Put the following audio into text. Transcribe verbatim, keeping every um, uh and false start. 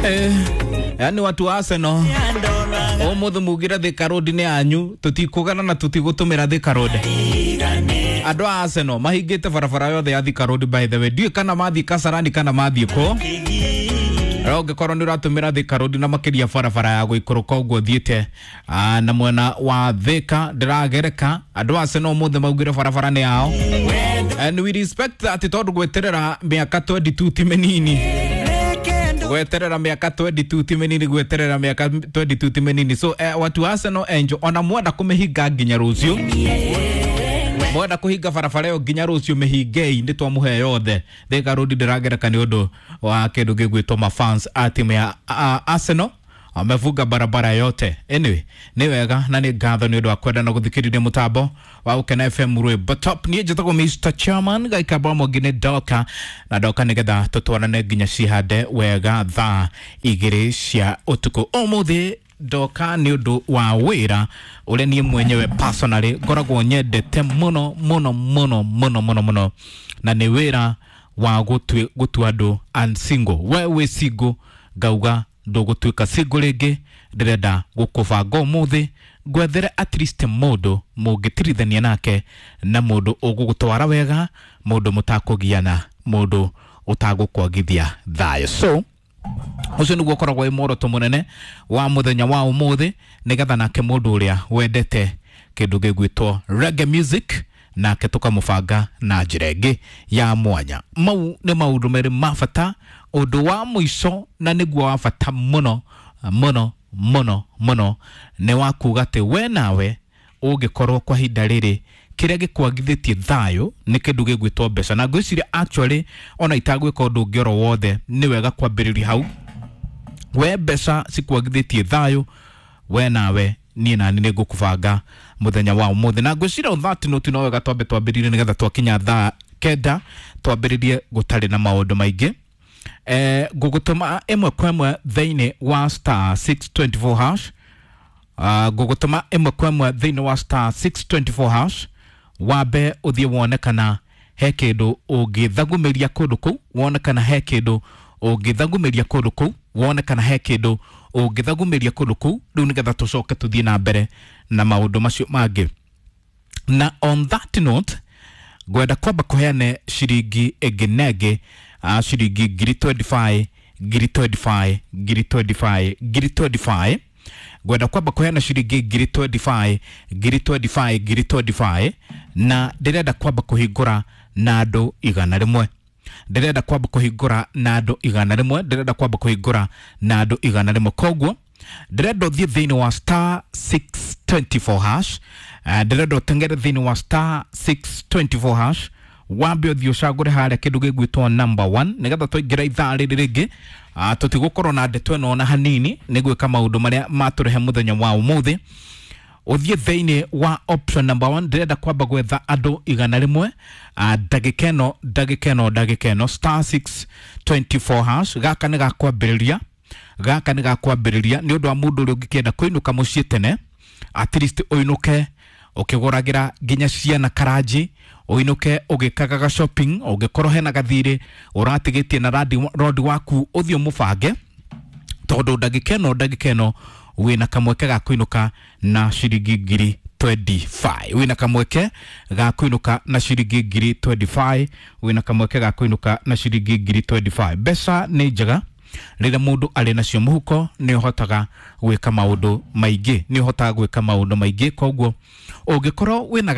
Eh, yani watu wa Arsenal umuthi mugire Thika Road ni anyu, tutikugana na tutigutumira Thika Road. Andũ a Arsenal mahingĩte barabara yothe ya Thika Road, by the way ndiũĩ kana mathiĩ Kasarani kana mathiĩ kũ. No ũngĩkorwo nĩ ũratũmĩra Thika Road na makĩria barabara ya gũikũrũka ũguo thiĩte ah, na mwena wa Thika ndĩragereka, andũ a Arsenal ũmũthĩ maugire barabara nĩ yao, and we respect that, tondũ gweterera mĩaka mĩrongo ĩrĩ na ĩrĩ ti mĩnini, gweterera mĩaka mĩrongo ĩrĩ na ĩrĩ ti mĩnini, gweterera mĩaka mĩrongo ĩrĩ na ĩrĩ ti mĩnini. So eh, watu wa Arsenal enjo ona mwenda kũmĩhinga nginya rũciũ, mwenda kũhinga barabara ĩyo nginya rũciũ, mĩhingei, nĩ twamũhe yothe. Thika Road ndĩragereka nĩ ũndũ wa kĩndũ gĩgwĩtwo mafans a timu ya a, Arsenal wamefunga barabara yote. Anyway, nĩ wega na nĩ ngatho nĩ ũndũ wa kwenda na gũthikĩrĩria mũtambo wa Gũkena F M Rwĩmbo Top. Niĩ njĩtagwo Mister Chairman Gaikamba Mwongine, ndoka na ndoka nĩgetha tũtwarane nginya cihande wega thaa igĩrĩ cia ũtukũ. Ũmũthĩ ndoka nĩ ũndũ wa wĩra ũrĩa niĩ mwenyewe personally ngoragwo nyendete mũno mũno mũno mũno mũno mũno, na nĩ wĩra wa gũtue- gũtua andũ unsingle. We wĩ single, ngauga ndũgũtuĩka single rĩngĩ. Ndĩrenda gũkũbanga ũmũthĩ ngwethere at least mũndũ mũngĩtirithania nake na mũndũ ũgũgũtwara wega, mũndũ mũtakũgiana, mũndũ ũtagũkwagithia thayũ. So ũcio nĩguo ũkoragwo wĩ muoroto mũnene wa mũthenya wa ũmũthĩ, nĩgetha nake mũndũ ũrĩa wendete kĩndũ gĩgwĩtwo reggae music nake tũkamũbanga na njĩra ĩngĩ ya mwanya. Mau nĩ maũndũ merĩ ma bata. Ũndũ wa mũico na nĩguo wa bata mũno mũno mũno mũno nĩ wa kuga atĩ we nawe ũngĩkorwo kwa ihinda rĩrĩ kĩrĩa gĩkwagithĩtie thayũ nĩ kĩndũ gĩgwĩtwo mbeca, na ngwĩciria actually ona itagwĩka ũndũ ũngĩ oro wothe, nĩ wega kwambĩrĩria hau. We mbeca cikwagithĩtie thayũ, we nawe niĩ nani nĩ ngũkũbanga mũthenya wa ũmũthĩ, na ngwĩciria on that note no wega twambe twambĩrĩrie nĩgetha twakinya thaa kenda twambĩrĩrie gũtarĩ na maũndũ maingĩ. eh, ngũgũtũma ĩmwe kwa ĩmwe thĩinĩ wa star six two four hash. uh, ngũgũtũma ĩmwe kwa ĩmwe thĩinĩ wa star six two four hash, wambe ũthiĩ wone kana he kĩndũ ũngĩthagumĩria kũndũ kũu, wone kana he kĩndũ ũngĩthagumĩria kũndũ kũu, wone kana he kĩndũ ũngĩthagumĩria kũndũ kũu rĩu, nĩgetha tũcoke tũthiĩ na mbere na maũndũ macio mangĩ. Na on that note ngwenda kwamba kũheane ciringi ĩngĩ na ĩngĩ, uh, ciringi ngiri mĩrongo ĩrĩ na ithano, ngiri mĩrongo ĩrĩ na ithano, ngiri mĩrongo ĩrĩ na ithano, ngiri mĩrongo ĩrĩ na ithano. Ngwenda kwamba kũheana ciringi ngiri mĩrongo ĩrĩ na ithano, ngiri mĩrongo ĩrĩ na ithano, ngiri mĩrongo ĩrĩ na ithano, na ndĩrenda kwamba kũhingũra na andũ igana rĩmwe. Ndĩrenda kwamba kũhingũra na andũ igana rĩmwe. Ndĩrenda kwamba kũhingũra na andũ igana rĩmwe. Koguo ndĩrenda ũthiĩ thĩinĩ wa star six two four hash. Eh, ndĩrenda ũtengere thĩinĩ wa star six two four hash, wambe ũthiĩ ũcagũre harĩa kĩndũ gĩgwĩtwo number one, nĩgetha twaingĩra ithaa rĩrĩ rĩngĩ ah, tũtigũkorwo na ndeto ĩno ona hanini, nĩ gwĩka maũndũ marĩa matũrehe mũthenya wa ũmũthĩ. Ũthiĩ thĩinĩ wa option number one. Ndĩrenda kwamba gwetha andũ igana rĩmwe, ah, ndagĩka ĩno, ndagĩka ĩno, ndagĩka ĩno. Star six two four hash, gaka nĩ gakwambĩrĩria, gaka nĩ gakwambĩrĩria nĩ ũndũ wa mũndũ ũrĩa ũngĩkĩenda kũinũka mũciĩ tene, at least ũinũke ũkĩgũragĩra nginya ciana karanji, ũinũke ũgĩkagaga shopping. Ũngĩkorwo hena gathirĩ ũratigĩtie na randi- rodi waku, ũthiĩ ũmũbange, tondũ ndagĩka ĩno, ndagĩka ĩno wĩna kamweke ga kũinũka na ciringi ngiri mĩrongo ĩrĩ na ithano. Wĩna kamweke ga kũinũka na ciringi ngiri mĩrongo ĩrĩ na ithano. Wĩna kamweke ga kũinũka na ciringi ngiri mĩrongo ĩrĩ na ithano. Mbeca nĩ njega rĩrĩa mũndũ arĩ nacio mũhuko, nĩ ũhotaga gwĩka maũndũ maingĩ, nĩ ũhotaga gwĩka maũndũ maingĩ. Koguo ũngĩkorwo wĩna